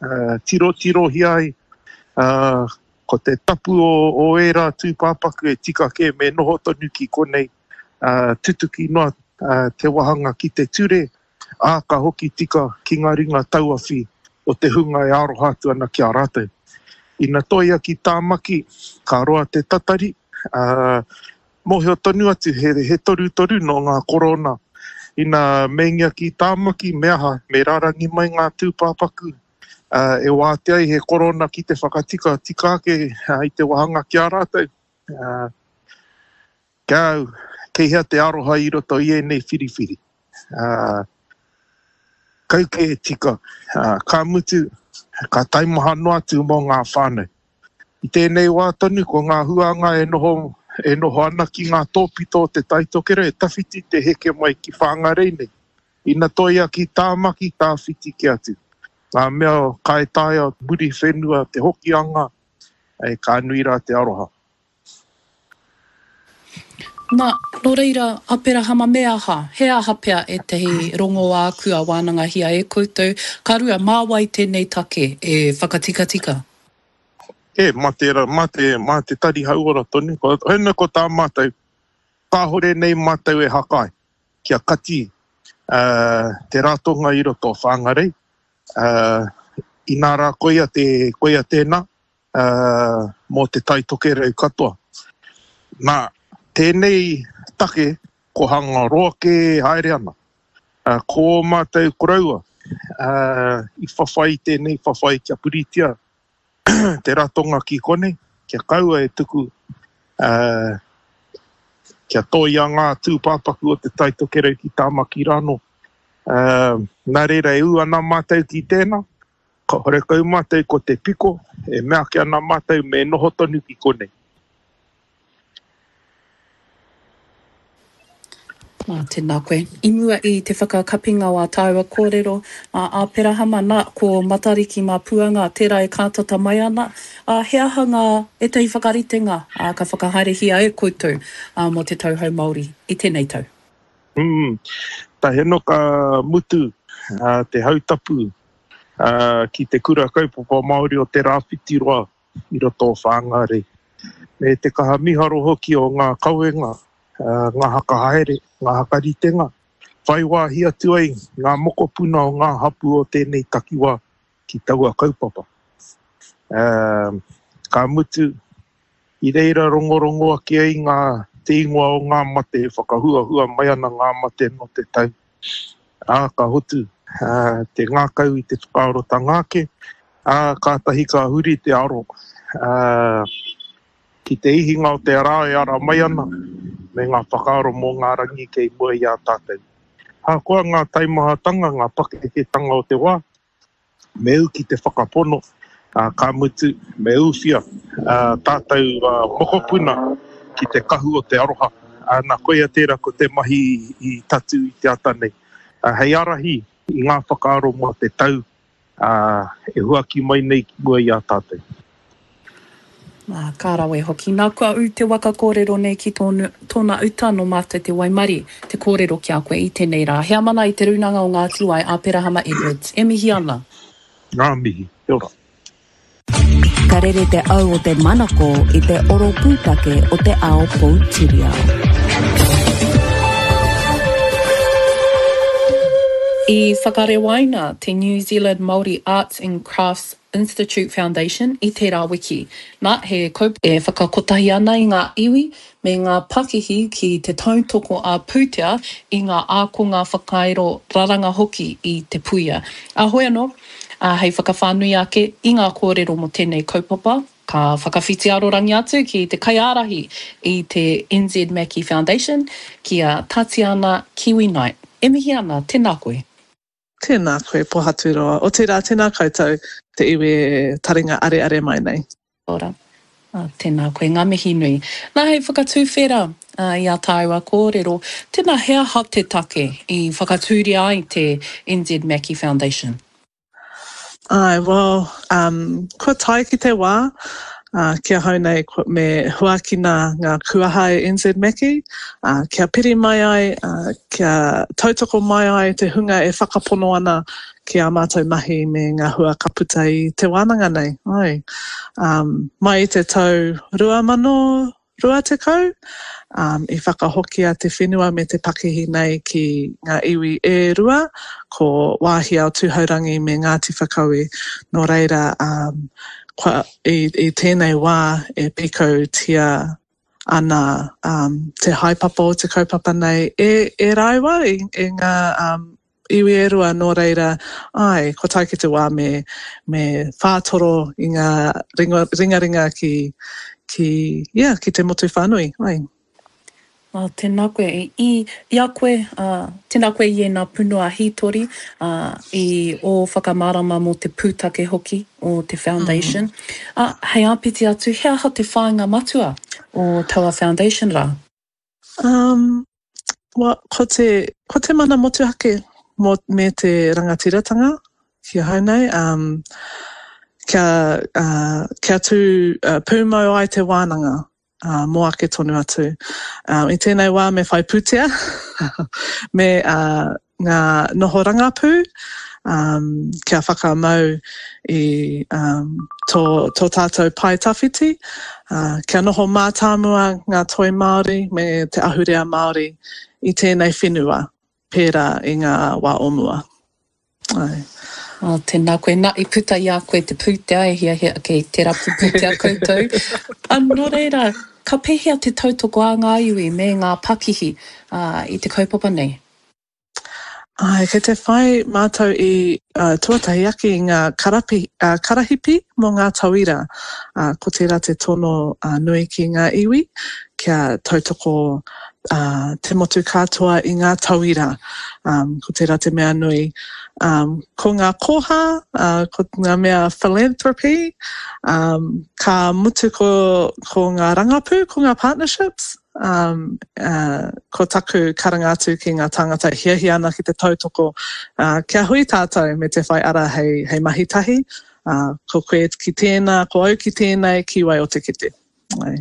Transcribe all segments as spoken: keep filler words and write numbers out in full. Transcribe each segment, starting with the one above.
uh, tirotirohia ai, uh, ko te tapu o, o ērā tūpāpaku e tika kē me noho tonu ki konei, uh, tutuki noa uh, te wahanga ki te ture, ā, ka hoki tika ki ngā ringa tauawhi o te hunga e aroha atu ana ki a rātou. Ina toia ki Tāmaki, ka roa te tatari, ā, mōhio tonu atu he, he torutoru nō ngā korona. Ina meingia ki Tāmaki, me aha, me rārangi mai ngā tūpāpaku, ā, e wātea ai he korona ki te whakatika tika ake i te wāhanga ki a rātou. Ā, kia au, kei hea te aroha i roto i ēnei whiriwhiri. Ā, kau kē e tika, ā, ka mutu, ka taimaha noa atu mō ngā whānau. I tēnei wā tonu, ko ngā huānga e noho, e noho ana ki ngā tōpito o te Tai Tokerau e tawhiti te heke mai ki Whāngarei nei. Ina toia ki Tāmaki, tāwhiti kē atu. Ngā mea ka e taea Muriwhenua, te Hokianga, e, ka nui rā te aroha. Na, no reira, Aperahama, me aha? He aha pea ētahi rongoā kua wānangahia e koutou? Ka rua, mā wai tēnei take e whakatikatika? E, mā te, mā te, mā te Tari Hauora tonu. Ko, hena ko tā mātou, kāhore nei mātou e hakae kia kati uh, te ratonga i roto o Whāngarei. Uh, inā rā koia, te, koia tēnā uh, mō te Tai Tokerau katoa. Nā, tēnei take ko hanga roa kē haere ana. Uh, ko ō mātou koroua uh, i whawhai i tēnei whawhai kia puritia te ratonga ki konei, kia kaua e tuku uh, kia tōia ngā tūpāpaku o te Tai Tokerau ki Tāmaki rānō. Uh, nā reira e ū ana mātou ki tēnā, ka horekau mātou ko te piko, e mea ake ana mātou me noho tonu ki konei. Nā, tēnā koe. I mua i te whakakapinga o ā tāua kōrero, a Āperahama, nā, ko Matariki mā Puanga, tērā e kātata mai ana, ā, he aha ngā, ētahi whakaritenga, ā, ka whakahaerehia e koutou, ā, mō te Tau Hou Māori i tēnei tau? Mm, tahi anō ka mutu, ā, te hautapu, ā, ki te Kura Kaupapa Māori o Te Rāwhitiroa i roto o Whāngārei. Me te kaha miharo hoki o ngā kawenga, ngā hakahaere, ngā hakaritenga, whai wāhi atu ai ngā mokopuna o ngā hapū o tēnei takiwā ki taua kaupapa. Uh, ka mutu, i reira rongorongo ake ai ngā te ingoa o ngā mate e whakahuahua mai ana ngā mate nō te tau. Ā, ka hotu uh, te ngākau i te whakaarotanga ake, ā, kātahi ka huri te aro. Uh, ki te ihinga o te rā e ara mai ana, me ngā whakaaro mō ngā rangi kei mua i a tātou. Ahakoa ngā taimahatanga, ngā pakeketanga o te wā, me ū ki te whakapono, ā, ka mutu, me ūwhia ā, tātou ā, mokopuna ki te kahu o te aroha. Ā, nā, koia tērā ko te mahi i tatū i te ata nei. Ā, hei ārahi i ngā whakaaro mō te tau ā, e huaki mai nei ki mua i a tātou. Ā, ka rawe hoki. Nā, kua ū te waka kōrero nei ki tōnu, tōna uta nō mātou te waimarie te kōrero ki a koe i tēnei rā. Heamana i Te Rūnanga o Ngāti Wai, Aperahama Edwards, e mihi ana. Ngā mihi. Kia ora. Ka rere te au o te manako i te oro pūtake o te ao poutiriao. I whakarewaina te New Zealand Māori Arts and Crafts Institute Foundation i tērā wiki. Nā, he kaupapa e whakakotahi ana i ngā iwi me ngā pakihi ki te tautoko ā-pūtea i ngā ākonga whakairo raranga hoki i Te Puia. Ā, hoi anō, ā, hei whakawhānui ake i ngā kōrero mō tēnei kaupapa, Ka whakawhiti arorangi atu ki te kaiārahi i te N Z Mackie Foundation, ki a Tatiana Kiwi Knight. E mihi ana, tēnā koe. Tēnā koe, Pohaturoa. Otirā, tēnā koutou, te iwi e taringa areare mai nei. Ora. Tēnā koe, ngā mihi nui. Nā, hei whakatuwhera i ā tāua kōrero, tēnā he aha te take i whakatūria ai te N Z Mackie Foundation? Āe, well, um, kua tae ki te wā, Uh, ki ahau nei me huakina ngā kuaha e N Z Mackey, uh, kia piri mai ai, uh, kia tautoko mai ai te hunga e whakapono ana ki ā mātou mahi me ngā hua ka puta i te wānanga nei. Ai. Um, mai i te tau rua mano rua tekau, um, i whakahokia te whenua me te pakihi nei ki ngā iwi e rua, ko Wāhiao Tūhourangi me Ngāti Whakaue. Nō reira, um, kua, i, i tēnei wā e pīkautia ana um, te haepapa o te kaupapa nei e, e rāua, e, e ngā um, iwi e rua, nō reira, āe, kua tae ki te wā me, me whātoro i ngā ringa, ringaringa ki, ki, yeah, ki te motu whānui, āe. Oh, tēnā koe. I, i a koe, uh, tēnā koe i ēnā punua hītori, uh, i ō whakamārama mō te pūtake hoki o te foundation. Mm. Uh, hei āpiti atu, he aha te whāinga matua o taua foundation rā? Um, well, ko te, ko te mana motuhake mō, me te rangatiratanga ki ahau nei, um, kia, uh, kia tū uh, pūmau ai te wānanga uh, mō ake tonu atu. Um, I tēnei wā me whai pūtea, me uh, ngā noho rangapū, um, kia whakamau i um, tō, tō tātou pae tawhiti, uh, kia noho mātāmua ngā toi Māori me te ahurea Māori i tēnei whenua, pērā i ngā wā o mua. Ai. Oh, tēnā koe. Nā, i puta i a koe te pūtea e hiahia kei te rapu pūtea koutou. A, nō reira, ka pēhea te tautoko a ngā iwi me ngā pakihi uh, i te kaupapa nei? Ai, kei te whai mātou i uh, tuatahi ake i ngā karapi, uh, karahipi mō ngā tauira. Uh, ko tērā te tono uh, nui ki ngā iwi, kia tautoko uh, te motu katoa i ngā tauira. Um, ko tērā te mea nui. Um, ko ngā koha, uh, ko ngā mea philanthropy, um, ka mutu ko, ko ngā rangapū, ko ngā partnerships, um, uh, ko taku karanga atu ki ngā tāngata hiahia ana ki te tautoko, uh, kia hui tātou me te whai ara hei, hei mahi tahi, uh, ko koe ki tēnā, ko au ki tēnei, ki wai o te kete. Ai.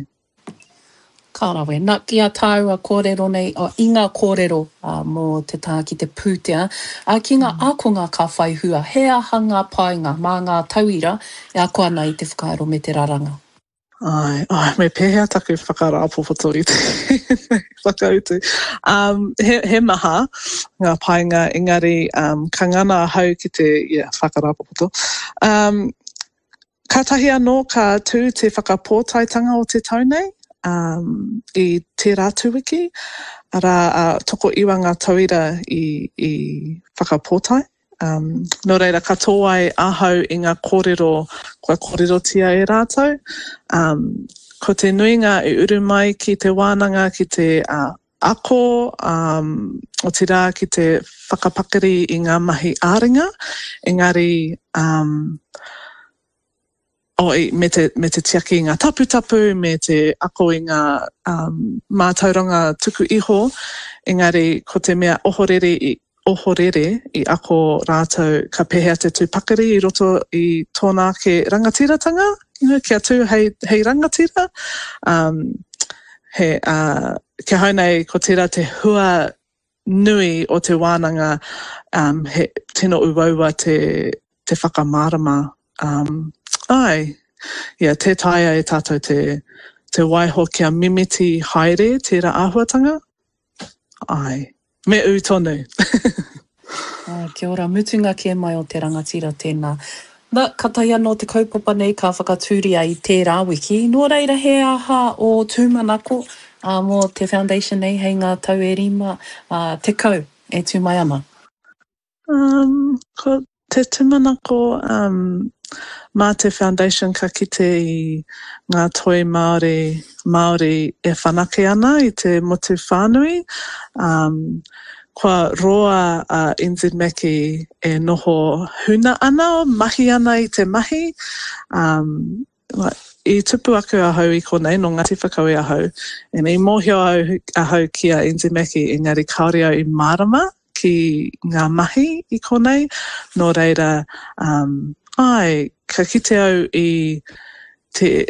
Ka rawe. Nā, ki a tāua kōrero nei, oh, i ngā kōrero uh, mō te taha ki te pūtea, uh, ki ngā mm. ākonga ka whai hua, he aha ngā painga mā ngā tauira e ako ana i te whakairo me te raranga? Ai, ai, me pēhea taku whakarāpopoto i te whakautu. Um, he, he maha ngā painga, engari um, ka ngana ahau ki te yeah, whakarāpopoto. Um, kātahi anō ka tū te whakapōtaetanga o te tau nei, um, i tērā atu wiki, arā uh, tokoiwa ngā tauira i, i whakapōtae. Um, nō reira, ka tōai ahau i ngā kōrero kua kōrerotia e rātou. Um, ko te nuinga i uru mai ki te wānanga, ki te uh, ako, um, otirā ki te whakapakari i ngā mahi ā-ringa, engari um, oh, i, me, te, me te tiaki i ngā taputapu, me te ako i ngā um, mātauranga tuku iho, engari ko te mea ohorere i, ohorere i ako rātou ka pēhea te tū pakari i roto i tōna ake rangatiratanga, you know, kia tū hei, hei rangatira. Um, he, uh, ki ahau nei ko tērā te hua nui o te wānanga, um, he tino uaua te, te whakamārama. Um, ai, yeah, tē taea e tātou te, te waiho kia mimiti haere tērā āhuatanga. Ai, me ū tonu. Oh, kia ora, mutunga kē mai o te rangatira tēnā. Na, kātahi anō te kaupapa nei ka whakatūria i tērā wiki. Nō reira, he aha ō tūmanako uh, mō te foundation nei hei ngā tau e rima uh, tekau e tū mai ana? Um, ko te tūmanako um, mā te foundation ka kite i ngā toi Māori, Māori e whanake ana i te motu whānui. Um, kua roa a uh, N Z Mackey e noho huna ana, mahi ana i te mahi. Um, i tupu ake ahau i konei, nō Ngāti Whakaue ahau, and i mōhio au, ahau ki a N Z Mackey, engari kāore au i mārama ki ngā mahi i konei. Nō reira, um, ai, ka kite au i te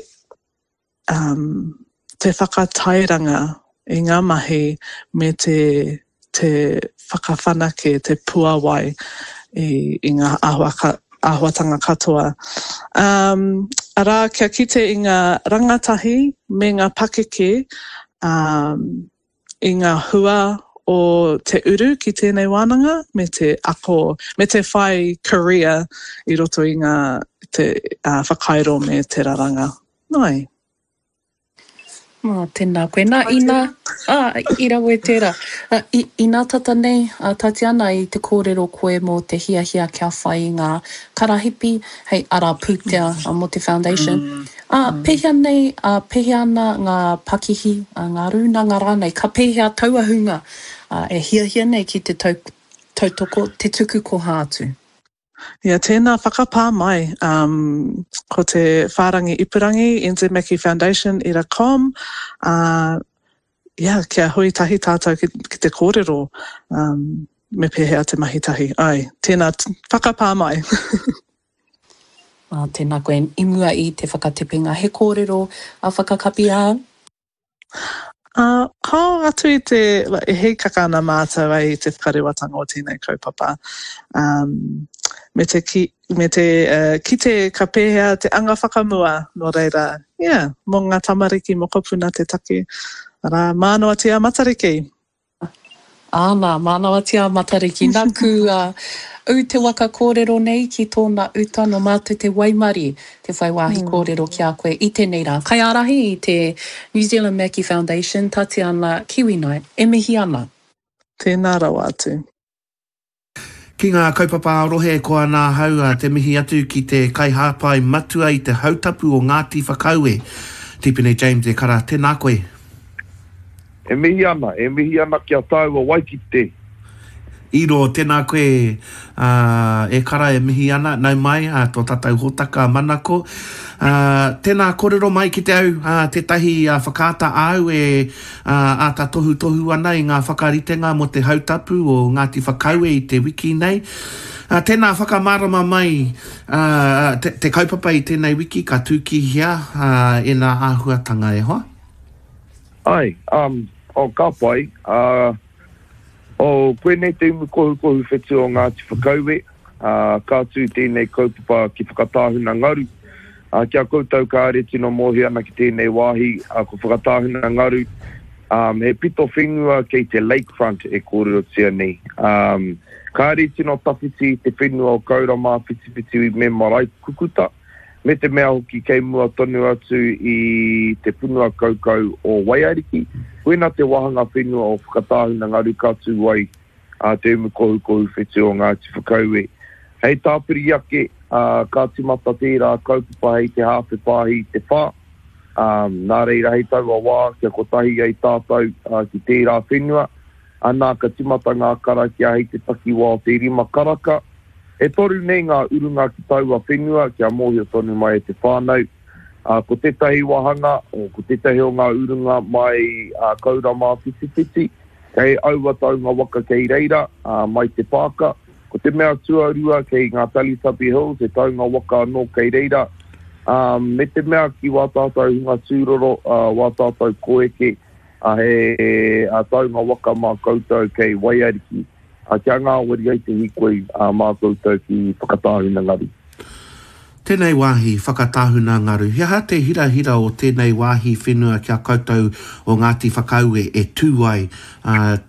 um, te whakatairanga i ngā mahi me te, te whakawhanake, te puawai i, i ngā āhua, āhuatanga katoa. Um, arā, kia kite i ngā rangatahi me ngā pakeke um, i ngā hua o te uru ki tēnei wānanga me te ako, me te whai career i roto i ngā te, uh, whakairo me te raranga. Nai. Oh, tēnā koe. Nā, ina, ā, i rawe tērā. Uh, i, inā tata nei, a Tatiana, i te kōrero koe mō te hiahia kia whai i ngā karahipi hei ara pūtea mm. mō te foundation. Mm. Ā, mm. pēhea nei, ā, pēhea ana ngā pakihi, ā, ngā rūnanga rānei, ka pēhea taua hunga ā, e hiahia nei ki te tau, tautoko, te tuku koha atu? Ia, tēnā whakapā mai. Um, ko te whārangi ipurangi, NZMackie Foundation ira com. Uh, yeah, kia hui tahi tātou ki, ki te kōrero um, me pēhea te mahi tahi. Ai, tēnā whakapā mai. Ah, tēnā koe, i mua i te whakatepenga, he kōrero a whakakapi āu? Uh, kao atu i te, e hīkaka ana mātou ai i te whakarewatanga o tēnei kaupapa. Um, me te, ki, me te uh, kite ka pēhea te anga whakamua, nō reira, yeah, mō ngā tamariki mokopuna te take. Arā, mānawatia Matariki. Āna, mānawatia Matariki. Naku, uh, ū te waka kōrero nei ki tōna uta nō mātou te waimarie te whai wāhi mm. kōrero ki a koe i tēnei rā. Kaiārahi i te New Zealand Mackie Foundation, Tatiana Kiwi Knight, e mihi ana. Tēnā rawa atu. Ki ngā kaupapa ā-rohe ko ana ahau te mihi atu ki te kaihāpai matua i te hautapu o Ngāti Whakaue, Tipene James e kara, tēnā koe. E mihi ana, e mihi ana ki a tāua Waikite. Iro, tēnā koe, ā, e kara e mihi ana, nau mai, ā, tō tātou hōtaka manako. Ā, tēnā kōrero mai ki te au, ā, tētahi whakaata āu e, ā, āta tohutohu ana i ngā whakaritenga mō te hautapu o Ngāti Whakaue i te wiki nei. Ā, tēnā whakamārama mai, ā, te, te kaupapa i tēnei wiki ka tū ki hea, ā, ēnā āhuatanga e hoa? Ai, um, oh, ka pai. Ā, oh, koinei te umu kohukohu whetū o Ngāti Whakaue, ā, ka tū tēnei kaupapa ki Whakatāhuna Ngaru. Ā, ki a koutou kāre tino mōhio ana ki tēnei wāhi, ā, ko Whakatāhuna Ngaru, um, he pito whenua kei te lakefront e kōrerotia nei. Um, kāre tino tawhiti i te whenua o Kauramāwhitiwhiti me Maraekukuta, me te mea hoki kei mua tonu atu i te punua kaukau o Waiariki, koina te wāhanga whenua o Whakatāhuna Ngaru ka tū ai a Te Umu Kohukohu Whetū o Ngāti Whakaue. Hei tāpiri ake, ka tīmata tērā kaupapa hei te hāwhe pāhi i te whā, nā reira hei taua wā kia kotahi ai tātou ki tērā whenua, anā ka tīmata ngā karakia hei te takiwā o te rima karaka. E toru nei ngā urunga ki taua whenua kia mōhio tonu mai e te whānau. Ko tētahi wāhanga, ko tētahi o ngā urunga mai Kauramāwhitiwhiti, kei aua taunga waka kei reira, mai te pāka. Ko te mea tuarua kei ngā Teletubby Hills, he taunga waka anō kei reira. Me te mea ki wā tātou hunga tūroro, wā tātou koeke, he taunga waka mā koutou kei Waiariki. Kia ngāwari ai te hīkoi mā koutou ki Whakatāhuna Ngaru. Tēnei wāhi, Whakatāhuna Ngaru, he aha te hirahira o tēnei wāhi whenua ki a koutou o Ngāti Whakaue e tū ai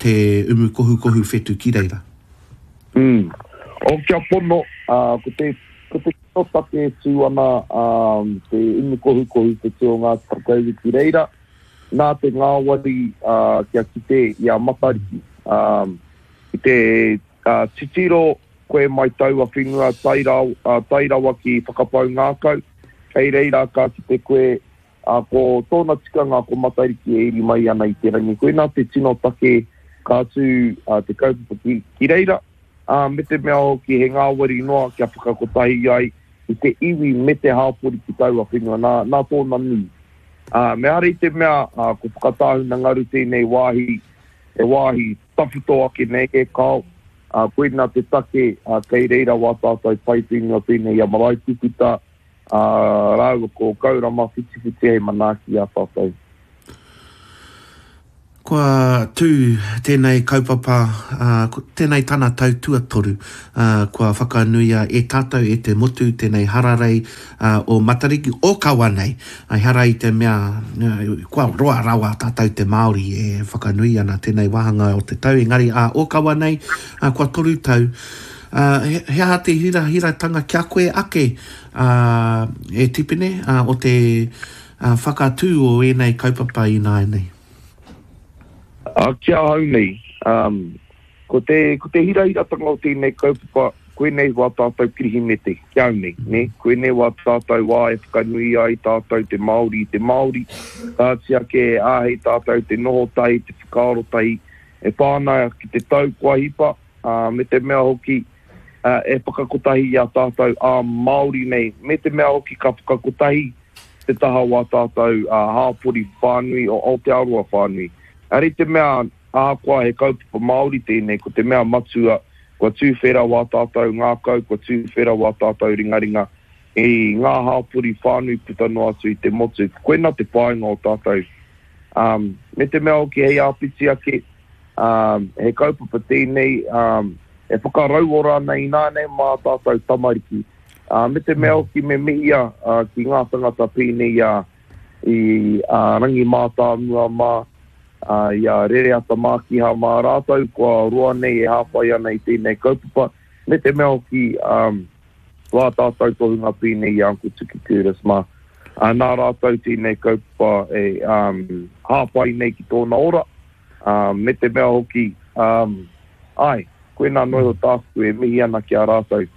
te umu kohukohu whetū ki reira? Mm. O, kia pono, uh, ko te, ko te tino take e tū ana um, te umu kohukohu whetū o Ngāti Whakaue ki reira, nā te ngāwari uh, kia kite i a Matariki. Um, i te uh, titiro koe mai taua whenua tae rawa, uh, tae rawa ki Whakapau Ngākau, kei reira ka kite koe, uh, ko tōna tikanga ko Matariki e iri mai ana i te rangi. Koinā te tino take ka tū uh, te kaupapa ki, ki reira, uh, me te mea hoki he ngāwari noa kia whakakotahi ai i te iwi me te hāpori ki taua whenua, nā, nā tōna nui. Uh, me ara i te mea uh, ko Whakatāhuna Ngaru tēnei wāhi, he wāhi tawhito ake nei e kao, uh, koina te take uh, kei reira wā tātou pai whenua pēnei i a Maraekukuta, ā, rāua ko Kaurama Whitiwhiti hei manaaki i a tātou. Kua tū tēnei kaupapa, ā, tēnei tana tau tuatoru, ā, kua whakanuia e tātou, e te motu, tēnei hararei, ā, o Matariki, ōkawa nei. Ehara i te mea, kua roa rawa tātou te Māori e whakanui ana tēnei wāhanga o te tau, engari ā, ōkawa nei, ā, kua toru tau. Ā, he, he aha te hirahiratanga ki a koe ake, ā, e Tipene, ā, o te, ā, whakatū o ēnei kaupapa ināianei? Ā, ki ahau nei, um, ko te, ko te hirahiratanga o tēnei kaupapa, koinei wā tātou Kirihimete, ki au nei, nē? Koinei wā tātou wā e whakanui ai tātou te Māori i te Māori, kāti ake e āhei tātou te noho tahi, te whakaaro tahi, e pā ana ki te tau kua hipa, ā, me te mea hoki, ā, e whakakotahi i a tātou ā-Māori nei, me te mea hoki ka whakakotahi te taha o ā tātou hāpori whānui, o Aotearoa whānui. Engari te mea, ahakoa he kaupapa Māori tēnei, ko te mea matua, kua tūwhera wā tātou ngākau, kua tūwhera wā tātou ringaringa i ngā hāpori whānui puta noa atu i te motu. Koina te painga o tātou. Um, me te mea hoki hei āpiti ake, um, he kaupapa tēnei um, e whakarauora ana ināianei mā tātou tamariki. Ā, me te mea hoki me mihia ki ngā tangata pēnei i a, i a Rangi Mātāmua mā, ā, i a Rereata Mākiha mā rātou kua roa nei e hāpai ana i tēnei kaupapa, me te mea hoki, ā, wā tātou tohunga pēnei i a Uncle Tuki Curtis mā, ā, nā rātou tēnei kaupapa e, ā, hāpai nei ki tōna ora, ā, me te mea hoki, ā, āe, koinā noa iho tāku e mihi ana ki a rātou.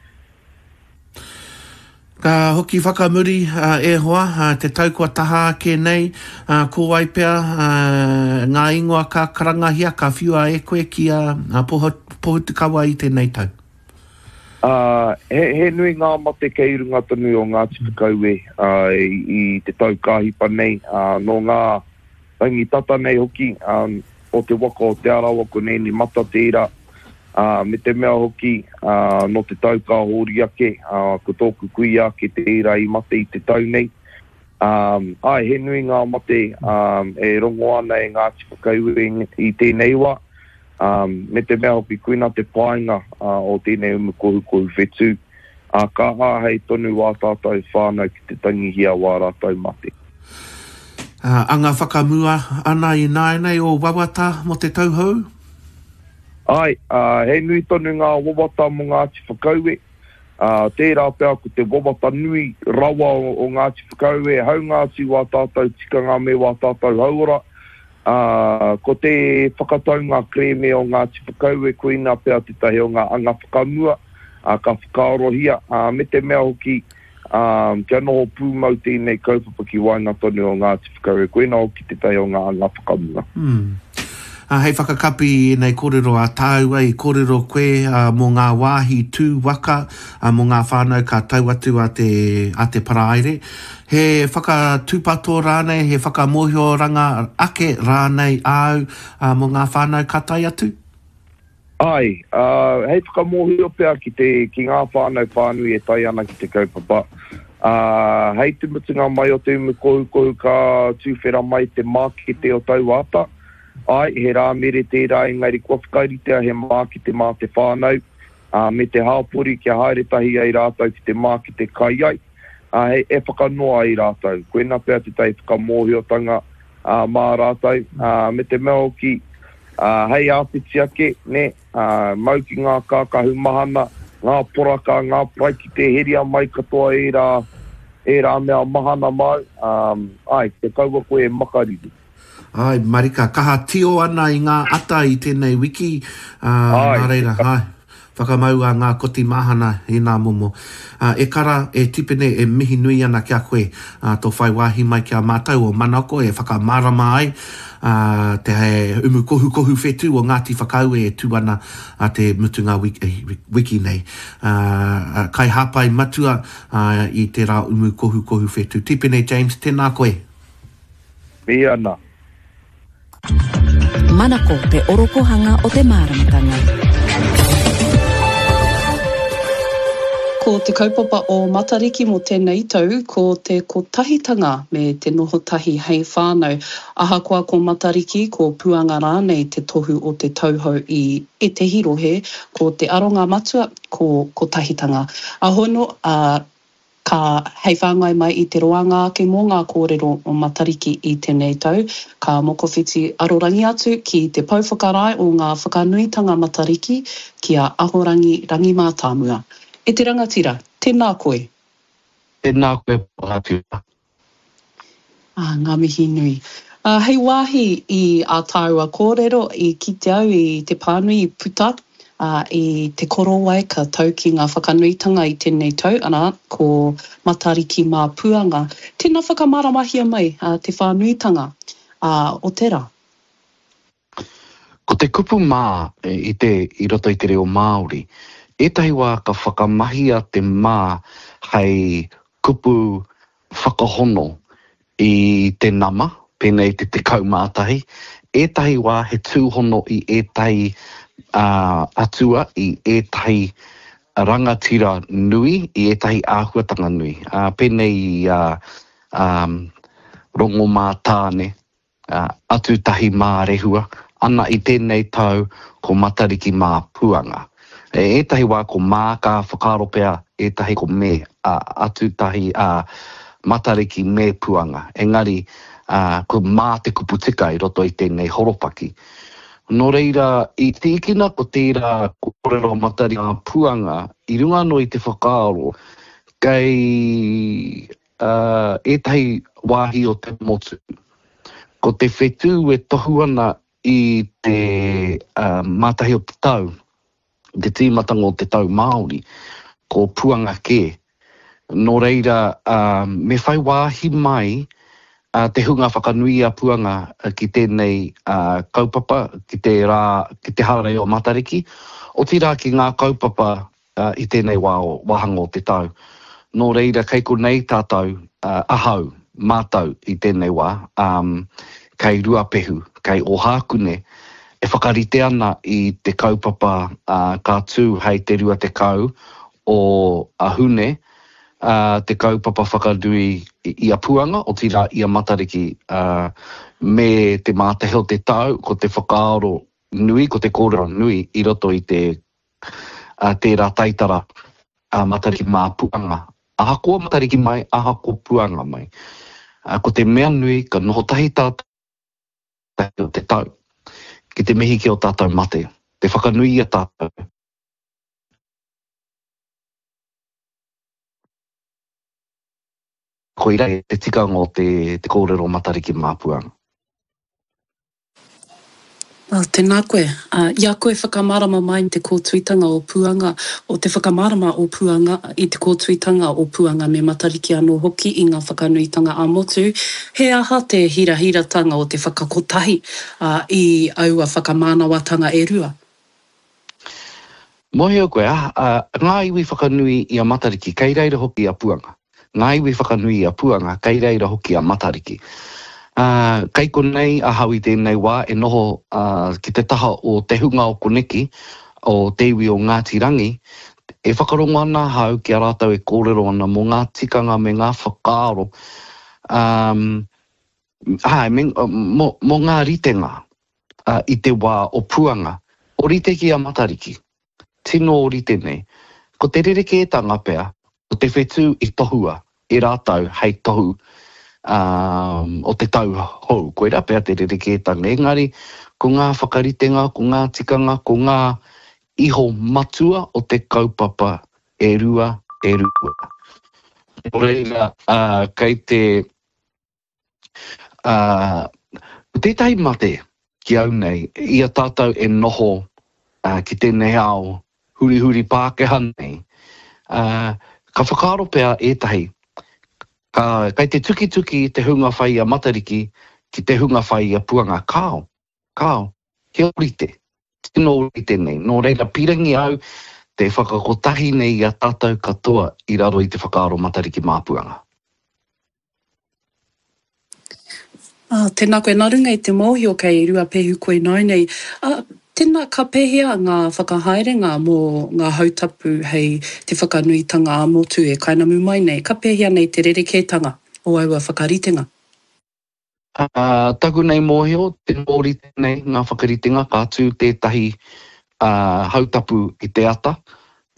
Ka hoki whakamuri, e hoa, te tau kua taha ake nei, ko wai pea ngā ingoa ka karangahia, ka whiua e koe ki a Pohutukawa i tēnei tau? He, he nui ngā mate kei runga tonu o Ngāti Whakaue i te tau ka hipa nei, nō ngā rangi tata nei hoki o te waka o Te Arawa ko Nēni Mata tērā, Ā, me te mea hoki, ā, nō te tau ka hori ake, ā, ko tōku kuia ake tērā i mate i te tau nei. Ā, āe, he nui ngā mate, ā, e rongo ana e Ngāti Whakaue i tēnei wā, ā, me te mea hoki koina te painga, ā, o tēnei umu kohukohu whetū, ā, ka āhei tonu wā tātou whānau ki te tangihia wā rātou mate. Ā, anga whakamua ana ināianei ō wawata mō te tau hou? Āe, ā, he nui tonu ngā wawata mō Ngāti Whakaue. Ā, tērā pea ko te wawata nui rawa o, o Ngāti Whakaue, haunga atu wā tātou tikanga me wā tātou hauora, ā, ko te whakataunga kerēme o Ngāti Whakaue koina pea tētahi o ngā anga whakamua, ā, ka whakaarohia, ā, me te mea hoki, ā, kia noho pūmau tēnei kaupapa ki waenga tonu o Ngāti Whakaue, koina hoki tētahi o ngā anga whakamua. Mm. Ā, hei whakakapi i ēnei kōrero a tāua, i kōrero koe ā, mō ngā wāhi tū waka, ā, mō ngā whānau ka tau atu a te, a te Paraire. He whakatūpato rānei, he whakamōhioranga ake rānei āu, ā, mō ngā whānau ka tae atu? Āe, ā, hei whakamōhio pea ki te, ki ngā whānau whānui e tae ana ki te kaupapa, ā, hei te mutunga mai o te umu kohukohu ka tuwhera mai te mākete o taua ata. Āe, he Rāmere tērā engari kua whakaritea he mākete mā te whānau, ā, me te hāpori kia haere tahi ai rātou ki te mākete kai ai, ā, hei, e whakanoa ai rātou. Koina pea tētahi whakamōhiotanga, ā, mā rātou, ā, me te mea hoki, ā, hei āpiti ake, nē, ā, mau ki ngā kākahu mahana, ngā poraka, ngā paraikete, heria mai katoa ērā, ērā mea mahana māu, ā, āe, kia kaua koe e makariri. Āe, marika, kaha tio ana i ngā ata i tēnei wiki, ā, nā reira, āe. Whakamaua ngā koti mahana i nā momo. Ā, e kara, e Tipene, e mihi nui ana ki a koe, ā, tō whai wāhi mai ki a mātou o Manako e whakamārama ai, ā, te umu kohukohu whetū o Ngāti Whakaue e tū ana ā te mutunga wiki nei. Ā, kaihāpai matua, ā, i tērā umu kohukohu whetū. Tipene James, tēnā koe. Mihi ana. Manako te orokohanga o te māramatanga. Ko Ko te kaupapa o Matariki mō tēnei tau, ko te kotahitanga me te noho tahi hei whānau. Ahakoa ko Matariki, ko Puanga rānei te tohu o te tau hou i ētehi rohe, ko te aronga matua, ko kotahitanga. Ahono, ā, ka hei whāngai mai i te roanga ake mō ngā kōrero o Matariki i tēnei tau, ka mokowhiti arorangi atu ki te pou whakarae o ngā whakanuitanga Matariki, ki a Ahorangi Rangi Mātāmua. E te rangatira, tēnā koe. Tēnā koe Rangatira. Ā, ngā mihi nui. Ā, hei wāhi i ā tāua kōrero, i kite au i te pānui i puta, ā, i te korowai ka tau ki ngā whakanuitanga i tēnei tau, arā, ko Matariki mā Puanga. Tēnā whakamāramahia mai, ā, te whānuitanga, ā, o te rā. Ko te kupu mā i te, i roto i te reo Māori, ētahi wā ka whakamahia te mā hei kupu whakahono i te nama, pēnei i te tekau mā tahi, ētahi wā he tūhono i ētahi atua, i ētahi rangatira nui, i ētahi āhuatanga nui, pēnei i a Rongomātāne, Atutahi mā Rehua, ana i tēnei tau ko Matariki mā Puanga. E ētahi wā ko mā ka whakaaro pea ētahi ko me, ā, Atutahi, ā, Matariki me Puanga. Engari, ā, ko mā te kupu tika i roto i tēnei horopaki. Nō reira, i tīkina ko tērā kōrero Matariki mā Puanga i runga anō i te whakaaro kei, ā, ētahi wāhi o te motu. Ko te whetū e tohu ana i te mātahi o te tau, i te tīmatanga o te tau Māori, ko Puanga kē. Nō reira, me whai wāhi mai te hunga whakanui i a Puanga ki tēnei kaupapa, ki te rā, ki te hararei o Matariki, otirā ki ngā kaupapa i tēnei wā, wāhanga o te tau. Nō reira, kei konei tātou, ahau, mātou i tēnei wā, kei Ruapehu, kei Ōhākune, e whakarite ana i te kaupapa ka tū hei te rua tekau o Hune, te kaupapa whakanui i a Puanga, otirā i a Matariki, me te mātahi o te tau, ko te whakaaro nui, ko te kōrero nui i roto i te tērā taitara a Matariki mā Puanga. Ahakoa Matariki mai, ahakoa Puanga mai. Ko te mea nui, ka noho tahi tātou o te tau, ki te mihi ki ō tātou mate, te whakanui i a tātou. Koirā te tikanga o te kōrero Matariki mā Puanga. Oh, tēnā koe. I a koe whakamārama mai te kōtuitanga o Puanga, o te whakamārama o Puanga i te kōtuitanga o Puanga me Matariki anō hoki i ngā whakanuitanga ā-motu, he aha te hirahiratanga o te whakakotahi i aua whakamānawatanga e rua? Mōhio koe, ngā iwi whakanui i a Matariki, kei reira hoki a Puanga. Ngā iwi whakanui i a Puanga, kei reira hoki a Matariki. Ā, kei konei ahau i tēnei wā e noho ki te taha o te hunga o koneki, o te iwi o Ngāti Rangi, e whakarongo ana ahau ki a rātou e kōrero ana mō ngā tikanga me ngā whakaaro, ā, āe, me, mō, mō ngā ritenga i te wā o Puanga, ōrite ki a Matariki. Tino ōrite nei. Ko te rerekētanga pea, ko te whetū i tohua e rātou hei tohu o te tau hou. Koirā pea te rerekētanga. Engari, ko ngā whakaritenga, ko ngā tikanga, ko ngā iho matua o te kaupapa e rua, e rua. Nō reira, kei te. Ā, ko tētahi mate ki au nei, i a tātou e noho ki tēnei ao hurihuri Pākehā nei, ā, ka whakaaro pea ētahi, ka, kei te tukituki te hunga whai i a Matariki ki te hunga whai i a Puanga. Kāo, kāo, he ōrite, tino ōrite nei. Nō reira, pīrangi au te whakakotahi nei i a tātou katoa i raro i te whakaaro Matariki mā Puanga. Ā, tēnā koe, nā runga i te mōhio kei Ruapehu koe nāinei, ā, Tēnā, ka pēhea ngā whakahaerenga mō ngā hautapu hei te whakanuitanga ā-motu e kainamu mai nei? Ka pēhea nei te rerekētanga o aua whakaritenga? Ā, taku nei mōhio, tino ōrite nei ngā whakaritenga, ka tū tētahi hautapu i te ata,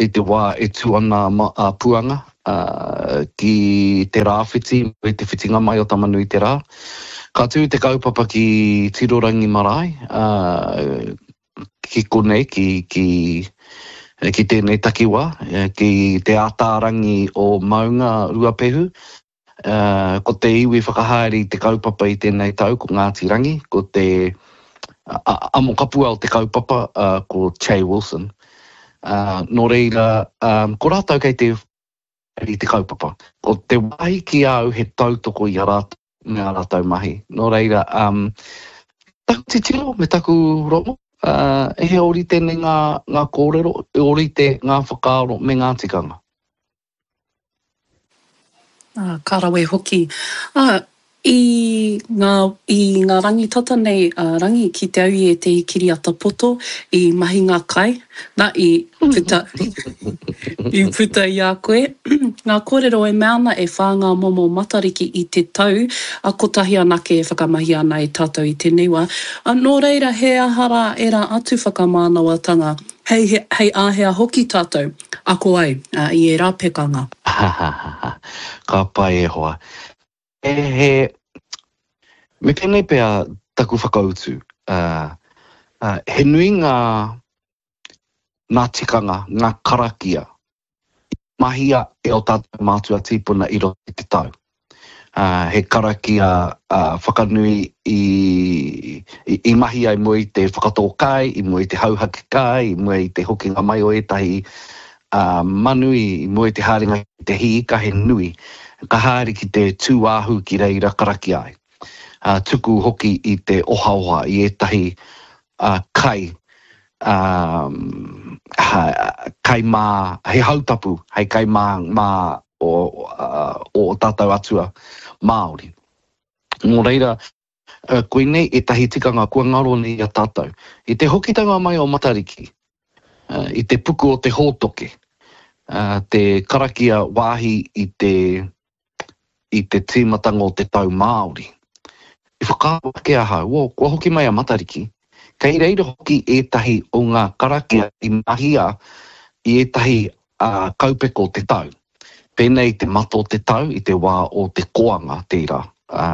i te wā e tū ana a Puanga ki te rāwhiti i te whitinga mai o Tama-nui-te-rā. Ka tū te kaupapa ki Tirorangi Marae, ki konei, ki, ki, ki tēnei takiwā, ki te ātārangi o Maunga Ruapehu. Ko te iwi whakahaere i te kaupapa i tēnei tau ko Ngāti Rangi, ko te amokapua o te kaupapa ko Che Wilson. Nō reira, ko rātou kei te i te kaupapa. Ko te wāhi ki a au he tautoko i a rātou me ā rātou mahi. Nō reira, taku titiro me taku rongo, he ōrite nei ngā kōrero, he ōrite ngā whakaaro me ngā tikanga. Ā, ka rawe hoki. Ā, i ngā, i ngā rangi tata nei a Rangi ki te au i ētehi kiriata poto i mahinga kai, nā, i puta, i puta i a koe ngā kōrero e mea ana e whā ngā momo Matariki i te tau, ā, kotahi anake e whakamahia ana e tātou i tēnei wā. Ā, nō reira, he aha rā ērā atu whakamānawatanga Hei, hei āhea hoki tātou ako ai i ērā pekanga? Ka pai e hoa. He, he, me pēnei pea taku whakautu, uh, uh, he nui ngā, ngā tikanga, ngā karakia i mahia e ō tātou mātua tīpuna i roto i te tau. He karakia whakanui i i mahia i mua i te whakatō kai, i mua i te hauhake kai, i mua i te hokinga mai o ētahi manu, i mua i te haerenga ki te hī ika, he nui. Ka haere ki te tūāhu ki reira karakia ai. Tuku hoki i te ohaoha i ētahi kai, kai mā, he hautapu hei kai mā mā o ō tātou atua Māori. Nō reira, koinei ētahi tikanga kua ngaro nei i a tātou. I te hokitanga mai o Matariki, i te puku o te hōtoke, te karakia wāhi i te, i te tīmatanga o te tau Māori, i whakaaro ake ahau, oh, kua hoki mai a Matariki, kei reira hoki ētahi o ngā karakia i mahia i ētahi kaupeka o te tau. Pēnei i te mata o te tau, i te wā o te koanga tērā, ā,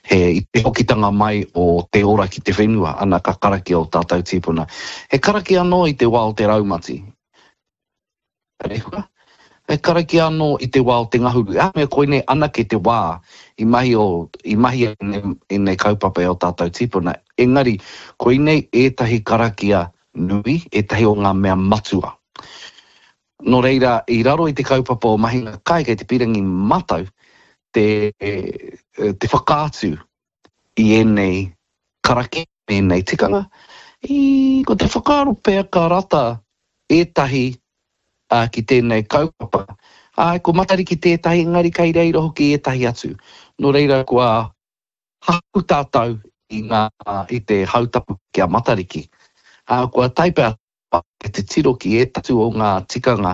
he, i te hokitanga mai o te ora ki te whenua, ana ka karakia ō tātou tīpuna. He karakia anō i te wā o te raumati. Rehua. He karakia anō i te wā o te ngahuru. Ā, mea koinei anake te wā i mahi o, i mahia ēnei kaupapa e ō tātou tīpuna. Engari, koinei ētahi karakia nui, ētahi o ngā mea matua. Nō reira, i raro i te kaupapa o Mahinga Kai, kei te pīrangi mātou te, te whakaatu i ēnei karakia, ēnei tikanga. I, ko te whakaaro pea ka rata ētahi ki tēnei kaupapa. Āe, ko Matariki tētahi, engari kei reira hoki ētahi atu. Nō reira, kua haku tātou i ngā, i te hautapu ki a Matariki. Ā, kua tae pea te titiro ki ētahi o ngā tikanga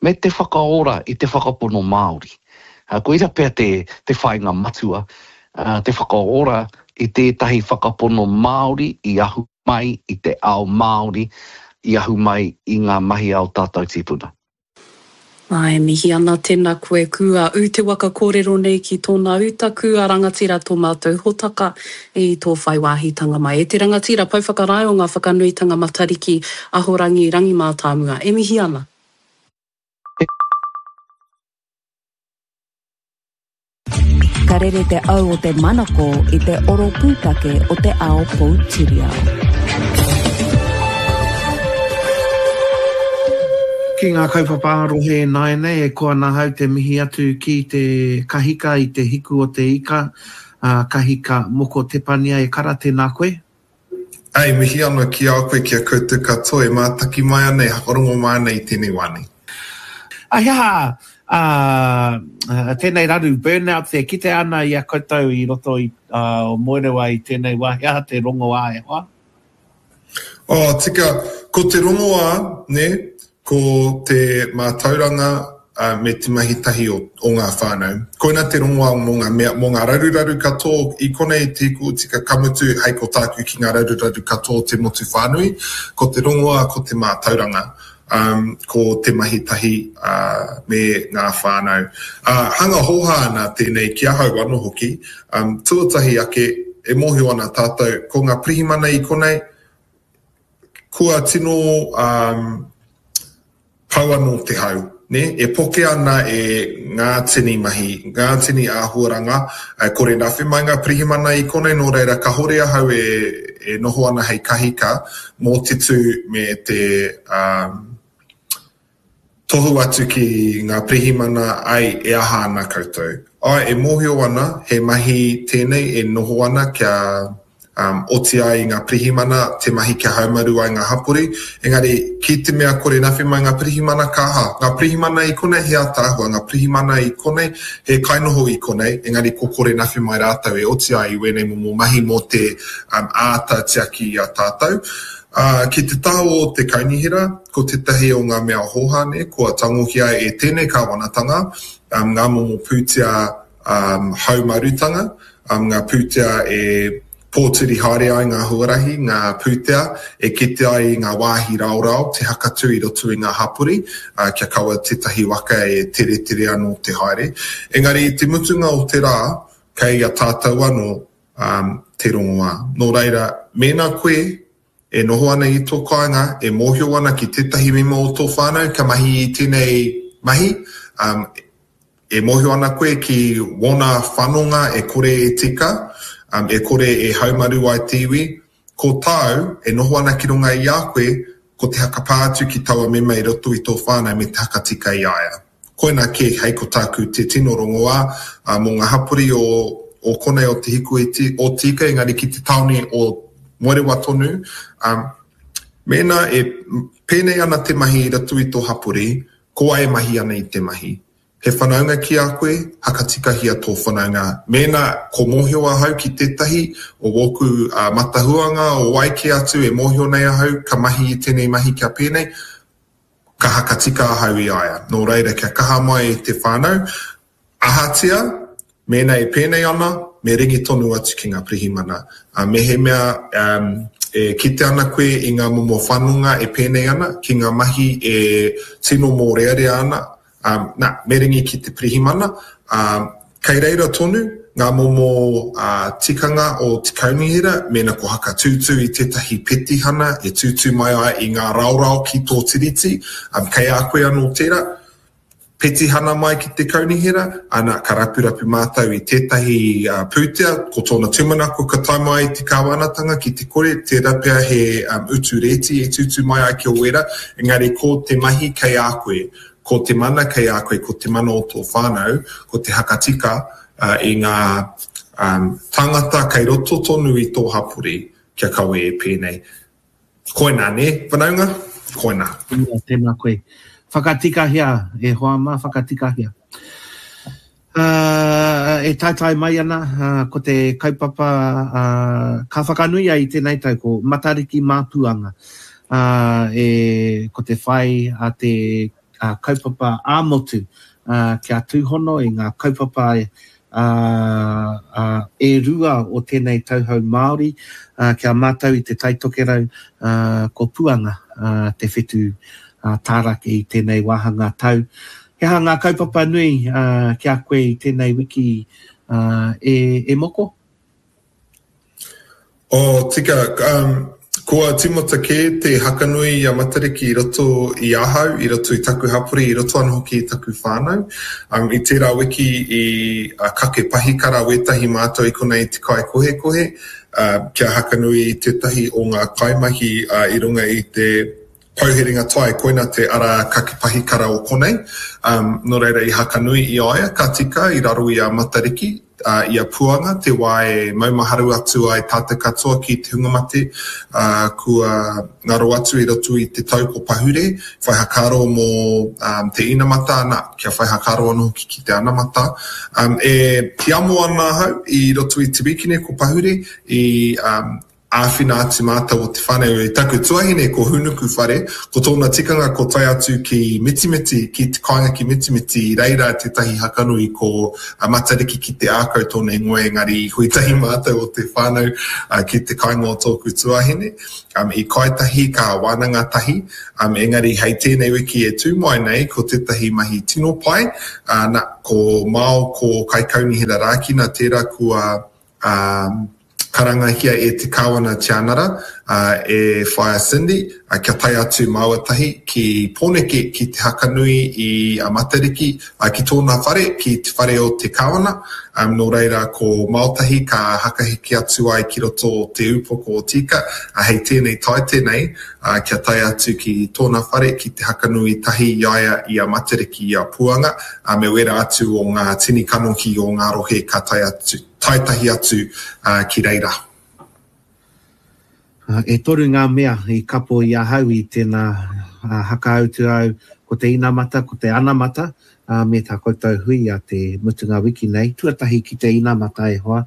me te whakaora i te whakapono Māori. Koira pea te, te whāinga matua, te whakaora i tētahi whakapono Māori i ahu mai i te ao Māori, i ahu mai i ngā mahi a ō tātou tīpuna. Ā, e mihi ana tēnā koe kua ū te waka kōrero nei ki tōna uta, kua rangatira tō mātou hōtaka i tō whai wāhitanga mai. E te rangatira, pou whakarae o ngā whakanuitanga Matariki, Ahorangi, Rangi Mātāmua, e mihi ana. Ka rere te au o te manako i te oro pūtake o te ao poutiriao. Ki ngā kaupapa ā-rohe ināianei, e koa ana ahau te mihi atu ki te kahika i te hiku o te ika, a Kahika Moko Tepania e kara, tēnā koe. Ā, e mihi ana ki a koe, ki a koutou katoa e mātaki mai ana, e whakarongo mai ana i tēnei wā nei. A he aha ā, tēnei raru burnout e kitea ana i a koutou i roto i o Moerewa i tēnei wā, he aha te rongoā e hoa? Oh, tika, ko te rongoā, nē, ko te mātauranga me te mahi tahi o, o ngā whānau. Koina te rongoā mō ngā mea, mō ngā raruraru katoa i konei te hiku tika ka mutu hei ko tāku ki ngā raruraru katoa o te motu whānui, ko te rongoā ko te mātauranga, um, ko te mahi tahi uh, me ngā whānau. Uh, hanga hōhā ana tēnei ki ahau anō hoki, um, tuatahi ake e mōhio ana tātou ko ngā pirihimana i konei, kua tino um, pau anō te hau, nē? E poke ana e ngā tini mahi, ngā tini āhuaranga, e kore nawhi mai ngā pirihimana i konei, nō reira kahore ahau e, e noho ana hei kahika mō te tū me te um, tohu atu ki ngā pirihimana, ai, e aha ana koutou. Ai, e mōhio ana, he mahi tēnei e noho ana kia um, oti ai i ngā pirihimana te mahi kia haumaru ai ngā hapori, engari ki te mea kore nawhi mai ngā pirihimana ka aha? Ngā pirihimana i konei he ataahua, ngā pirihimana i konei he kainoho i konei, engari ko kore nawhi mai rātou e oti ai i wēnei momo mahi mō te um, āta tiaki i a tātou. Uh, ki te taha o te kaunihera, ko tētahi o ngā mea hōhā nei, kua tangohia e tēnei kāwanatanga um, ngā momo pūtea um, haumarutanga, um, ngā pūtea e pōturi haere ai ngā huarahi, ngā pūtea e kite ai i ngā wāhi raorao te hakatū i roto i ngā hapori, uh, kia kaua tētahi waka e teretere anō te haere. Engari i te mutunga o te rā, kei a tātou anō um, te rongoā. Nō reira, mēnā koe e noho ana i tō kāinga, e mōhio ana ki tētahi mema o tō whānau ka mahi i tēnei mahi, um, e mōhio ana koe ki wōna whanonga e kore e tika, um, e kore e haumaru ai te iwi, ko tāu e noho ana ki runga i a koe, ko te hakapā atu ki taua mema i roto i tō whānau me te hakatika i a ia. Koina kē hei ko tāku te tino rongoā uh, mō ngā hapori o, o konei o Te Hiku o Tīka, engari ki te tāone o Moerewa tonu, um, mēnā e pēnei ana te mahi i roto i tō hapori, ko wai e mahi ana i te mahi. He whanaunga ki a koe, hakatikahia tō whanaunga. Mēnā ko mōhio ahau ki tētahi o wōku uh, matahuanga o wai kē atu e mōhio nei ahau ka mahi i tēnei mahi kia pēnei, ka hakatika ahau i a ia. Nō reira, kia kaha mai te whānau, ahatia, mēnā e pēnei ana, me ringi tonu atu ki ngā pirihimana. Uh, mehemea um, e kite ana koe i ngā momo whanonga e pēnei ana, ki ngā mahi e tino mōrearea ana, um, nā, me ringi ki te pirihimana, um, kei reira tonu ngā momo uh, tikanga o te kaunihera, mēnā ko hakatūtū i tētahi petihana e tūtū mai ai i ngā raorao ki tō tiriti, um, kei a koe anō tērā, petihana mai ki te kaunihera, ana ka rapurapu mātou i tētahi uh, pūtea, ko tōna tūmanako ka tae mai te kāwanatanga ki te kore, tērā pea he um, utu rēti e tūtū mai ai ki o wera, engari ko te mahi kei a koe, ko te mana kei a koe, ko te mana o tō whānau, ko te hakatika uh, i ngā um, tāngata kei roto tonu i tō hapori, kia kawe e pēnei. Koina, nē, whanaunga? Koina. Tēnā, tēnā koe. Whakatikahia, e hoa mā, whakatikahia. Uh, e taetae mai ana, uh, ko te kaupapa uh, ka whakanuia i tēnei tau, ko Matariki Māpuanga. Uh, e, ko te whai a te uh, kaupapa ā-motu uh, kia tūhono i ngā kaupapa uh, uh, e rua o tēnei tauhou Māori, uh, kia mātau i te Taitokerau, uh, ko Puanga uh, te whetū uh, tārake i tēnei wāhanga tau. He aha ngā kaupapa nui uh, ki a koe i tēnei wiki uh, e, e moko? Oh, tika, um, kua tīmata kē te hakanui i a Matariki i roto i ahau, i roto i taku hapori, i roto anō hoki i taku whānau. Um, i tērā wiki i uh, kake pahikara wētahi mātou i konei i te kai kohekohe, uh, kia hakanui i tētahi o ngā kaimahi uh, i runga i te pouherenga tai, koina te ara kake pahikara o konei. Um, nō reira i hakanui i a ia, ka tika i raro i a Matariki, uh, i a Puanga, te wā e maumaharu atu ai tātou katoa ki te hunga mate, uh, kua ngaro atu i roto i te tau ko pahure, whai hakaaro mō um, te inamata, ana, kia whai hakaaro anō hoki ki te anamata. Um, e hiamo ana ahau i roto i te wikine ko pahure, i um, āwhina atu mātou o te whānau. I taku tuahine ko Hūnuku whare, ko tōna tikanga ko tae atu ki Mitimiti, ki te kāinga ki Mitimiti, i reira tētahi hakanui ko Matariki ki te ākau tōna ingoa, engari i hui tahi mātou o te whānau ki te kāinga o tōku tuahine. Um, i kai tahi, ka wānanga tahi, um, engari hei tēnei wiki e tū mai nei, ko tētahi mahi tino pai, uh, na, ko Mao, ko Kaikaunihera Rākina, tērā kua um, karangahia e te Kāwana Tianara, uh, e Whaea Cindy, uh, kia tae atu māua tahi ki Pōneke, ki te hakanui i a Matariki, uh, ki tōna whare, ki te whare o te Kāwana. Um, nō reira ko Maotahi ka hakahiki atu ai ki roto o te upoko o Tika, uh, hei tēnei taite nei, uh, kia tae atu ki tōna whare, ki te hakanui tahi i a ia i a Matariki i a Puanga, uh, me wera atu o ngā tini kanohi o ngā rohe ka tae atu, tae tahi atu uh, ki reira. Uh, e toru ngā mea i kapo i ahau i tēnā uh, hakautu au, ko te inamata, ko te anamata, uh, me tā koutou hui a te mutunga wiki nei. Tuatahi ki te inamata e hoa.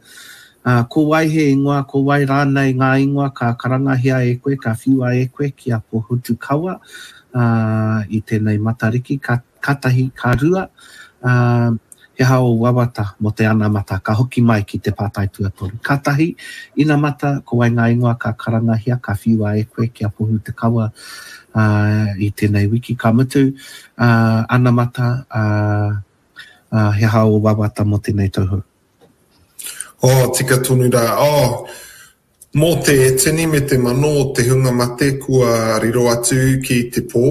Uh, ko wai he ingoa, ko wai rānei ngā ingoa ka karangahia e koe, ka whiua e koe ki a Pohutukawa uh, i tēnei Matariki, ka, ka tahi, ka rua. Uh, he aha o wawata mo te anamata, ka hoki mai ki te pātai tuatoru. Ka tahi, inamata, ko wai ngā ingoa ka karangahia, ka whiua e koe ki a Pohutukawa uh, i tēnei wiki. Ka mutu, uh, anamata, uh, uh, he aha o wawata mo tēnei tauhou. Oh, tika tonu rā. Oh, mō te tini me te mano o te hunga mate kua riro atu ki te pō,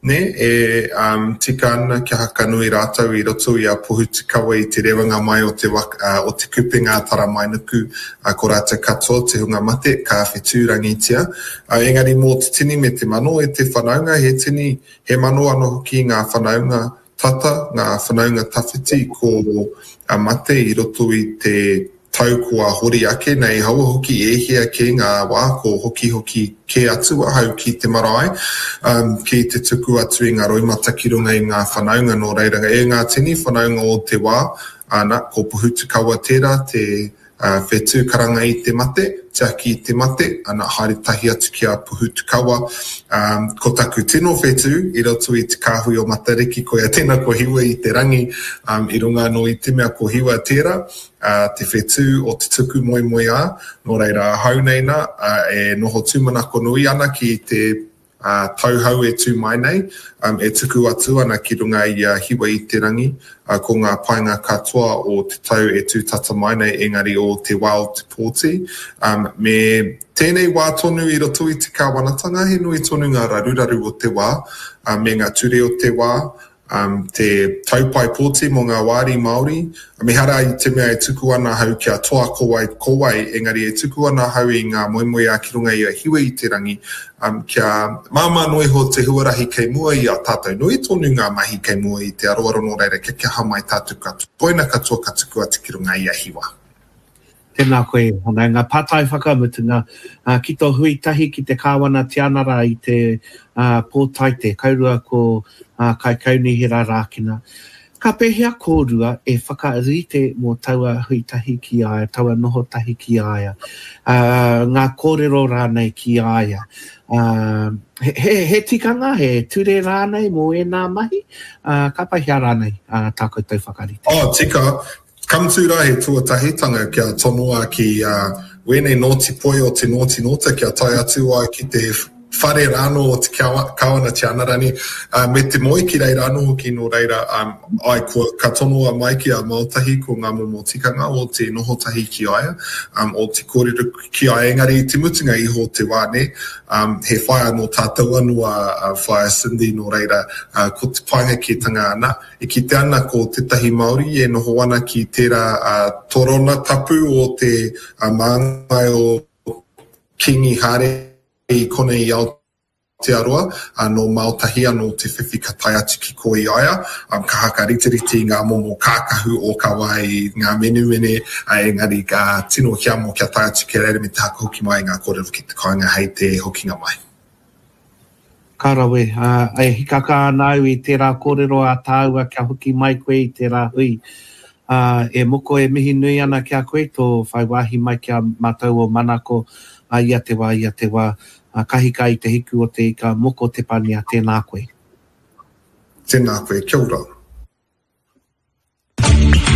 ne, e um, tika ana kia hakanui rātou i roto i a Pohutukawa i te rewanga mai o te, waka, uh, o te kupenga Taramainuku, uh, ko rātou katoa te hunga mate, ka whetūrangitia. Uh, engari mō te tini me te mano e te whanaunga, he tini, he mano anō hoki ngā whanaunga tata, ngā whanaunga tawhiti ko a mate i roto i te tau kua hori ake nei, haua hoki e hia ke ngā wā ko hoki hoki ke atu ahau ki te marae, um, ki te tuku atu i ngā roimata ki runga i ngā whanaunga nō reira. E ngā tini whanaunga o te wā, ana, ko Pohutukawa tērā te uh, whetū karanga i te mate, tiaki i te mate, ana haere tahi atu ki a Pohutukawa. Um, ko taku tino whetū i roto i te kāhui o Matariki, ko ia tēnā ko Hiwa i te rangi, um, i runga anō i te mea ko Hiwa tērā, uh, te whetū o te tuku moemoeā, nō reira ahau nei nā, uh, e noho tūmanako nui ana ki te uh, tauhau e tū mai nei, um, e tuku atu ana ki runga i a Hiwa i te rangi, uh, ko ngā painga katoa o te tau e tū tata mai nei, engari o te wā o te pōti. Um, me tēnei wā tonu i roto i te kāwanatanga, he nui tonu ngā raruraru o te wā, uh, me ngā ture o te wā, um, te taupai pōti mō ngā wāri Māori. Me hara i te mea e tuku ana hau kia toa ko wai, ko wai, engari e tuku ana hau i ngā moemoeā ki runga i a Hiwa i te rangi, um, kia māmā noa iho te huarahi kei mua i a tātou. Nui tonu ngā mahi kei mua i te aroaro nō reira, kia kaha mai tātou katoa. Koina katoa ka tuku atu ki runga i a Hiwa. Tēnā koe, whanaunga. Pātai whakamutunga, uh, ki tō hui tahi ki te Kāwana Tianara i te uh, Pōtaite, kaurua ko uh, Kaikaunihera Rākina. Ka pēhea kōrua e whakarite mō taua hui tahi ki a ia, taua noho tahi ki a ia, uh, ngā kōrero rānei ki a ia. Uh, he, he, he tikanga, he ture rānei mō ēnā mahi, uh, ka pēhea rānei uh, tā koutou whakarite? Oh, tika. Ka mutu rā he tuatahitanga kia tonoa ki uh, wēnei nōti poi o te nōti nōta kia tae atu ai ki te whare rānō o te Kāwana Tianarani, uh, me te moe ki reira anō hoki nō reira, um, ai, kua, ka tonoa mai ki a Maotahi ko ngā momo tikanga o te noho tahi ki a ia, um, o te kōrero ki a ia, engari i te mutunga iho o te wā ne, um, he whaea nō tātou anō a, a Whaea Cindy nō reira, uh, ko te painga kētanga ana, e kite ana ko tētahi Māori e noho ana ki tērā uh, torona tapu o te uh, māngai o Kingi Hare i konei i Aotearoa, uh, nō Maotahi anō te whiwhi ka tae atu ki ko i aia, um, ka hakariterite i ngā momo kākahu o ka wai, ngā menumene, uh, engari ka tino hiamo kia tae atu ki reira me te haka hoki mai ngā kōrero ki te kāinga hei te hokinga mai. Ka rawe, uh, e hikaka ana au i tērā kōrero a tāua kia hoki mai koe i tērā hui. Uh, e moko e mihi nui ana ki a koe, tō whai wāhi mai ki a mātou o Manako, ia te wā, ia te wā. Ka hika i te hiku o te ika, Moko Tepania, tēnā koe. Tēnā koe, kia ora.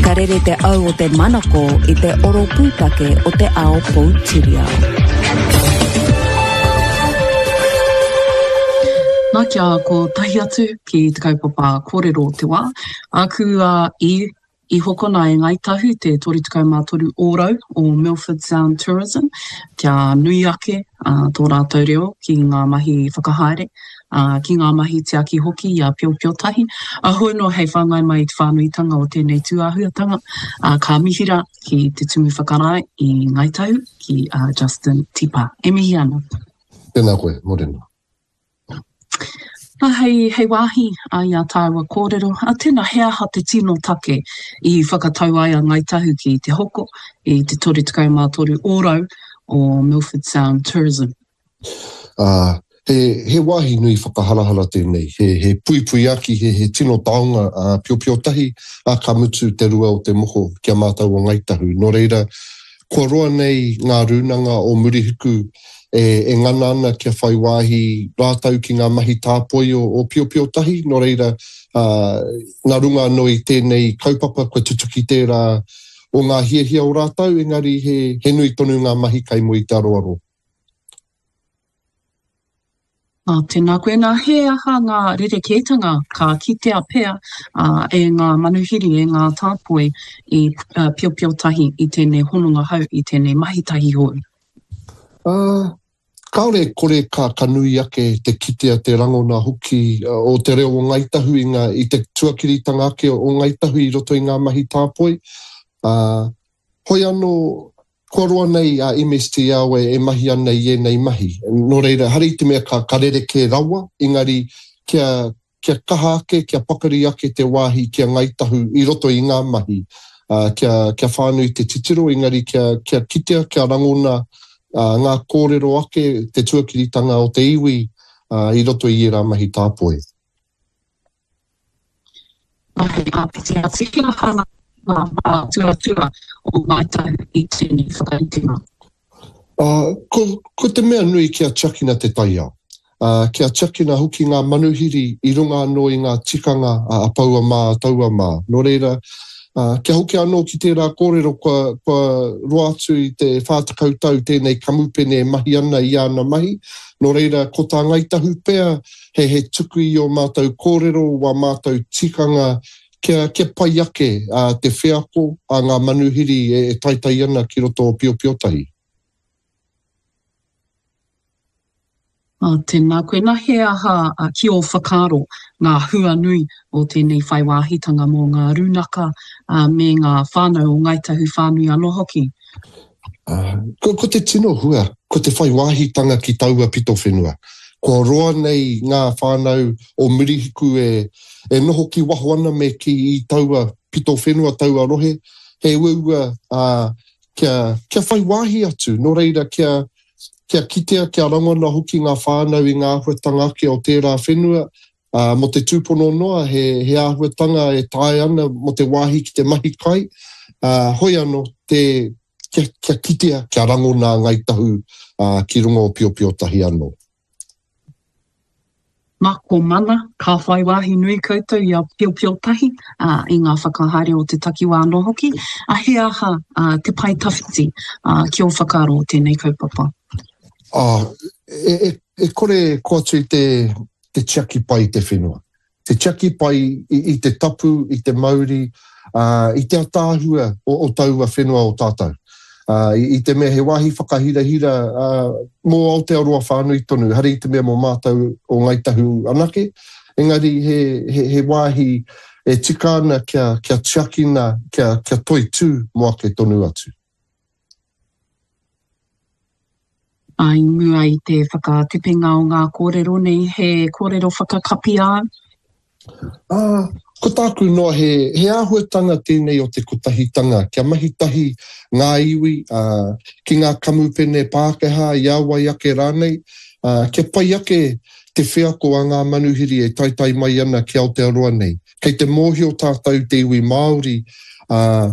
Ka rere te au o te manako i te oro pūtake o te ao poutiriao. Nā, kia kotahi atu ki te kaupapa kōrero o te wā. Āku a i I hokona e Ngāi Tahu te toru tekau mā toru ōrau o Milford Sound Tourism kia nui ake tō rātou reo ki ngā mahi whakahaere, ki ngā mahi tiaki hoki i a Piopiotahi. Hoi anō hei whāngai mai i te whānuitanga o tēnei tūāhuatanga, ka mihi rā ki te Tumu Whakarae i Ngāi Tahu, ki a Justin Tipa. E mihi ana. Tēnā koe, mōrena. Nā, hei, hei wāhi i ā tāua kōrero, ā, tēnā, he aha te tino take i whakatau ai a Ngāi Tahu ki te hoko i te toru tekau mā toru ōrau o Milford Sound Tourism? Ā, he, he wāhi nui whakaharahara tēnei, he, he puipuiaki, he, he tino taonga, ā, piopiotahi, ā, ka mutu te rua o te moko ki a mātou o Ngāi Tahu. Nō reira, Kua roa nei ngā rūnanga o Murihiku e ngana ana kia whai wāhi rātou ki ngā mahi tāpoi o Piopiotahi, nō reira, nā runga anō i tēnei kaupapa kua tutuki tērā o ngā hiahia o rātou, engari he nui tonu ngā mahi kei mua i te aroaro. Ā, tēnā koe. Nā, he aha ngā rerekētanga ka kitea pea e ngā manuhiri, e ngā tāpoi i piopiotahi i tēnei hononga hou, i tēnei mahi tahi hou? Ā, kāore e kore ka, ka nui ake te kitea, te rangona hoki o te reo o Ngāi Tahu i ngā, i te tuakiritanga ake o Ngāi Tahu i roto i ngā mahi tāpoi. Ā, Hoi anō, kua roa nei a M S T L e mahi ana i ēnei mahi. Nō reira, ehara i te mea ka rerekē rawa, engari kia, kia kaha ake, kia pakari ake te wāhi ki a Ngāi Tahu i roto i ngā mahi, kia, kia whānui te titiro, engari kia, kia kitea, kia rangona ngā kōrero ake, te tuakiritanga o te iwi i roto i ērā mahi tāpoi. Hei āpiti atu, he aha ngā mātuatua o Ngāi Tahu i tēnei whakaritenga? Ko, ko te mea nui kia tiakina te taiao, kia tiakina hoki ngā manuhiri i runga anō i ngā tikanga a Paua mā, a Taua mā. Nō reira, kia hoki anō ki tērā kōrero kua, kua roa atu i te whā tekau tau tēnei kamupene e mahi ana i āna mahi, nō reira, ko tā Ngāi Tahu pea he, he tuku i ō mātou kōrero, wā mātou tikanga kia, kia pai ake te wheako a ngā manuhiri e, e taetae ana ki roto o Piopiotahi. Ā, tēnā koe. Nā, he aha ki ō whakaaro ngā hua nui o tēnei whai wāhitanga mō ngā rūnaka me ngā whānau o Ngāi Tahu whānui anō hoki? Ko, ko te tino hua, ko te whai wāhitanga ki taua pito whenua. Kua roa nei ngā whānau o Murihiku e, e noho ki waho ana me kī i taua pito whenua, taua rohe, he uaua, ā, kia, kia whai wāhi atu, nō reira kia, kia kitea, kia rangona hoki ngā whānau i ngā āhuatanga ake o tērā whenua, ā, mō te tūpono noa he, he āhuatanga e taea ana mō te wāhi ki te mahi kai, ā, hoi anō, te, kia, kia kitea, kia rangona a Ngāi Tahu, ā, ki runga o Piopiotahi anō. Nā, ko Mana, ka whai wāhi nui koutou i a Piopiotahi, ā, i ngā whakahaere o te takiwā anō hoki, ā, he aha te pae tawhiti ki ō whakaaro o tēnei kaupapa? Ā, e, e, e kore e koa atu i te, te tiaki pai i te whenua. Te tiaki pai i, i te tapu, i te mauri, ā, i te ataahua o, o taua whenua o tātou. Ā, i, i te mea he wāhi whakahirahira, ā, mō Aotearoa whānui tonu, ehara i te mea mō mātou o Ngāi Tahu anake, engari he, he, he wāhi e tika ana kia, kia tiakina, kia, kia toitū mō ake tonu atu. Ā, i mua i te whakatepenga o ngā kōrero nei, he kōrero whakakapi āu? Ā, ko tāku noa he, he āhuatanga tēnei o te kotahitanga, kia mahi tahi ngā iwi, ā, ki ngā kamupene Pākehā, i a wai ake rānei, ā, kia pai ake te wheako a ngā manuhiri e taetae mai ana ki Aotearoa nei. Kei te mōhio tātou te iwi Māori, ā,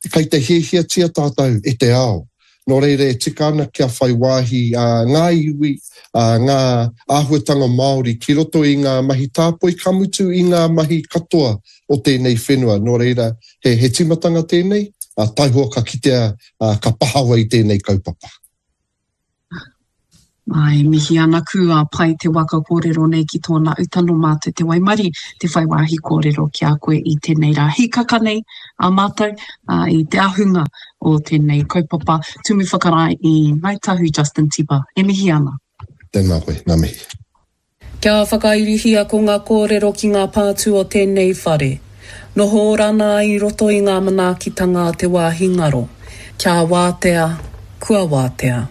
kei te hiahiatia tātou e te ao. Nō reira e tika ana kia whai wāhi ngā iwi, ngā āhuatanga Māori ki roto i ngā mahi tāpoi, ka mutu i ngā mahi katoa o tēnei whenua. Nō reira, he, he tīmatanga tēnei, taihoa ka kitea, ka pahawa i tēnei kaupapa. Āe, mihi ana ku a pai te waka kōrero nei ki tōna uta nō mātou te waimarie te whai wāhi kōrero ki a koe i tēnei rā hīkaka nei a mātou i te ahunga o tēnei kaupapa Tumu Whakarae i Ngāi Tahu Justin Tipa e mihi ana. Tēnā koe, ngā mihi. Kia whakairihia ko ngā kōrero ki ngā pātū o tēnei whare. Noho ora ana i roto i ngā manaakitanga a te wāhi ngaro. Kia wātea, kua wātea.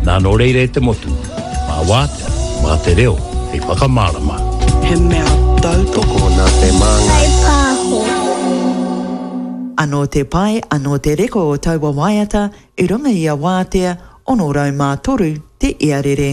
Nā nō reira e te motu, mā Wātea, mā te reo hei whakamārama. He mea tautoko nā te Māngai Pāho. Anō te pai, anō te reka o taua waiata i runga i a Wātea, ono rau mā toru te iarere.